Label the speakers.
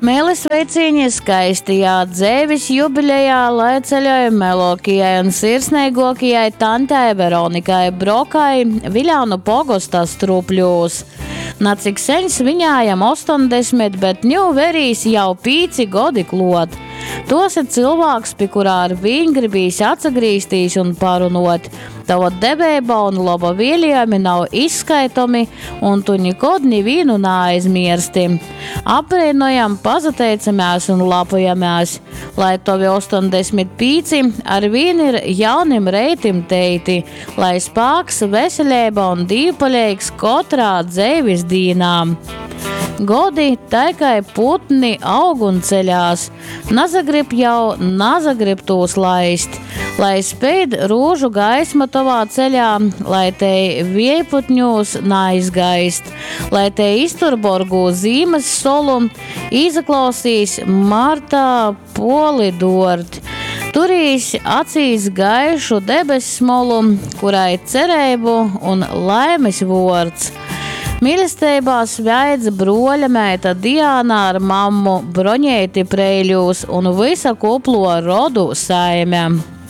Speaker 1: Meili sveicīņi skaistajā dzeivis jubilejā, lai ceļoj melokajai un sirsneigokajai tantei Veronikai Brokai Viļānu pogosta Strupļūs. Na cik seņ sviņājam 80, bet ņū verīs jau 5 godi klot. Tos ir cilvēks, pie kurā ar vīn gribīs atsagrīztīs un parunot. Tava deveiba un loba vēlējumi nav izskaitomi, un tu nikod nevienu neaizmirsti. Apbrīnojam, pazateicamies un lepojamies, lai tovi 85 ar vien ir jaunim reitim teiti, lai spāks, veselība un dīvpaļīgs katrā dzīves dīnā. Godi tai kā putni aug un ceļās, nazagrib jau, nazagrib tūs laist, lai speid rūžu gaisma tovā ceļā, lai te viejputņūs naizgaist, lai te iztur borgū zīmes solu, izaklausīs martā poli dort. Turīs acīs gaišu debessmolu, kurai cerību un laimes vords. Mīlestībā sveidz broļa meita Diana ar mammu Broņēti Preiļūs un visa kuplo rodu saime.